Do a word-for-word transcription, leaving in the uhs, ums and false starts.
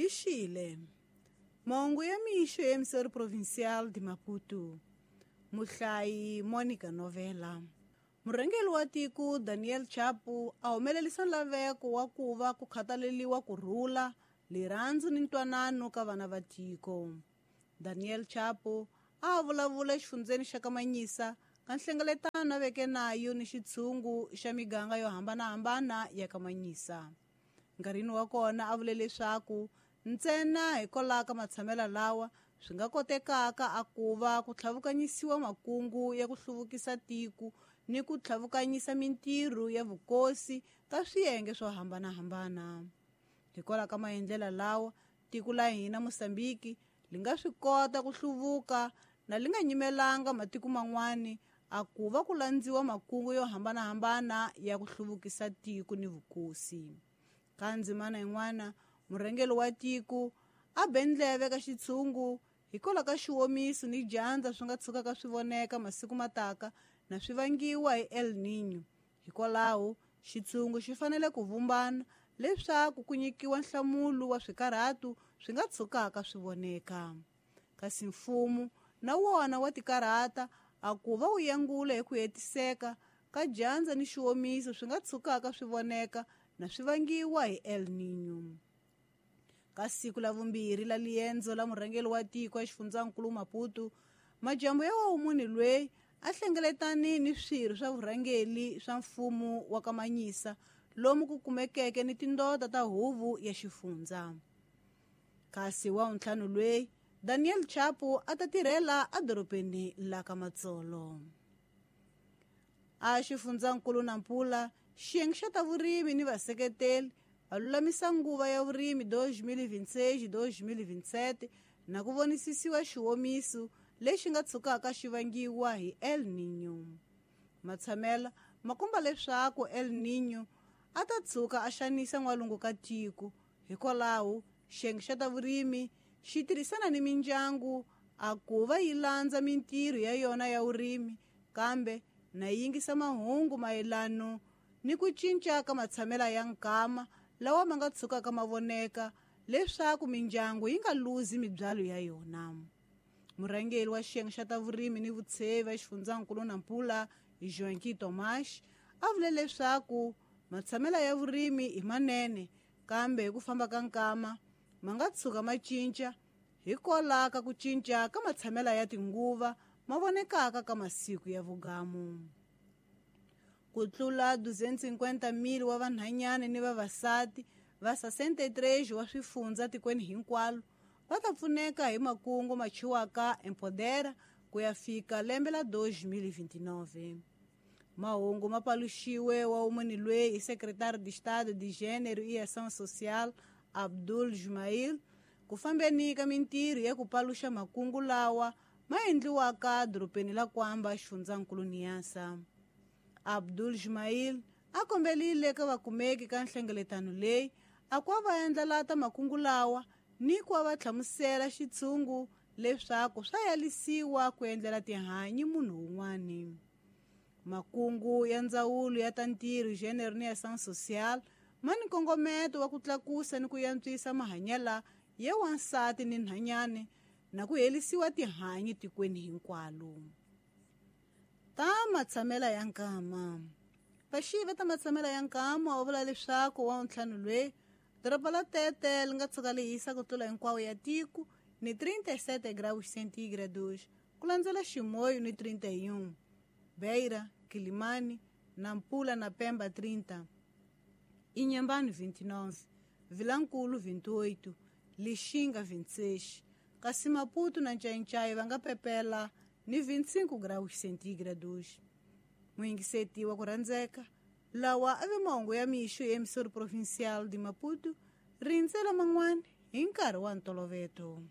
Lixile. Mahungu ya mixo ya Emissora Provincial de Maputo. Muhlayi Monica Novela. Murhangeri wa tiko Daniel Chapo a humelerisa nlaveko wa ku va ku khathaleriwa ku rhula, rirhandzu ni ntwanano ka vana va tiko. Daniel Chapo a vulavula exifundzeni xa Kamanyisa ka nhlengeletano a veke nayo ni xitshungu xa miganga yo hambanahambana ya Kamanyisa. Nkarhini wa kona a vule leswaku ntsena hikwalaho ka matshamelo lawa swi nga kotekaka a ku va ku tlhavukanyisiwa makungu ya ku hluvukisa tiko ni ku tlhavukanyisa mintirho ya vukosi ka swiyenge swo hambanahambana. Hikwalaho ka maendlelo lawa, tiko la hina Mozambique li nga swi kota ku hluvuka na li nga nyimelanga matiko man'wani a ku va ku landziwa makungu yo hambanahambana ya ku hluvukisa tiko ni vukosi. Ka ndzimana yin'wana, murhangeri wa tiko a be ndleve ka xitshungu hikwalaho ka xiwomiso ni dyandza swi nga tshukaka swi voneka masiku mataka na swi vangiwa hi El Niño. Hikwalaho, xitshungu xi fanele ku vumbana leswaku ku nyikiwa nhlamulo wa swikarhatu swi nga tshukaka swi voneka. Kasi mfumo na wona wa tikarhata a ku va wu yangula hi ku hetiseka ka dyandza ni xiwomiso swi nga tshukaka swi voneka na swi vangiwa hi El Niño. Ka siku la vumbirhi la liendzo la murhangeri wa tiko exifundzhankulu Maputo, majambu ya wumuni loyi a hlengeletani ni swirho swa vurhangeri swa mfumo wa Kamanyisa lomu ku kumekeke ni tindota ta huvo ya xifundza. Kasi wa ntlhanu loyi Daniel Chapo a ta tirhela edorobeni la ka Matsolo. A xifundzankulu Nampula, xiyenge xa ta vurimi ni vaseketeli va lulamisa nguva ya vurimi dois mil e vinte e seis dois mil e vinte e sete na ku vonisisiwa xiwomiso lexi nga tshukaka xi vangiwa hi El Niño. Matshamela ma komba leswaku El Niño a ta tshuka a xanisa n'walungu ka tiko. Hikwalaho, xiyenge xa ta vurimi xi tirhisana ni mindyangu a ku va yi landza mintirho ya yona ya vurimi, kambe na yi yingisa mahungu mayelano ni ku cinca ka matshamela ya nkama lawa ma nga tshukaka ma voneka leswaku mindyangu yi nga luzi mibyalo ya yona. Murhangeri wa xiyenge xa ta vurimi ni vutshevi exifundzhankulu Nampula, Joaquim Tomás, a vule leswaku matshamela ya vurimi i manene, kambe hi ku famba ka nkama ma nga tshuka ma cinca hikwalaho ka ku cinca ka matshamela ya tinguva ma vonekaka ka masiku ya vugamu. Ku tlula duzentos e cinquenta mil wa vanhanyana ni vavasati va sessenta e três wa swifundza tikweni hinkwalo va ta pfuneka hi makungu ma chiwaka Empodera ku ya fika lembe la dois mil e vinte e nove. Mahungu ma paluxiwe wa wumuni loyi hi secretário de Estado de Gênero e Ação Social Abdul Jumail ku fambeni ka mintirho ya ku paluxa makungu lawa ma endliwaka dorobeni la Kwamba xifundzankulu Niassa. Abdul Jumail a kombelile ka vakumeki ka nhlengeletano leyi a ku va endla ta makungu lawa ni ku va hlamusela xitshungu leswaku swa yalisiwa ku endlela tihanyi munhu un'wani. Makungu ya ndzawulo ya ta ntirho, gênero ni ação social ma ni nkongometo wa ku tlakusa ni ku yantswisa mahanyelo ya wansati ni nhanyane na ku herisiwa tihanyi tikweni hinkwalo. Ta matshamela ya nkama. Vaxivi ta matshamela ya nkama va vula leswaku wa ntlhanu loyi doroba la Tete li nga tshuka li hisa ku tlula hinkwawo ya tiko ni trinta e sete graus centígrados ku landzela Chimoio ni trinta e um, Beira, Quilimane, Nampula na Pemba trinta, Inhambane vinte e nove, Vilankulo vinte e oito, Lixinga vinte e seis, kasi Maputo na Nchainchai va nga pepela ni vinte e cinco graus centígrados. Muyingiseti wa ku rhandzeka, lawa a ve mahungu ya mixo ya Emissora Provincial de Maputo, rindzela man'wana hi nkarhi wa ntoloveto.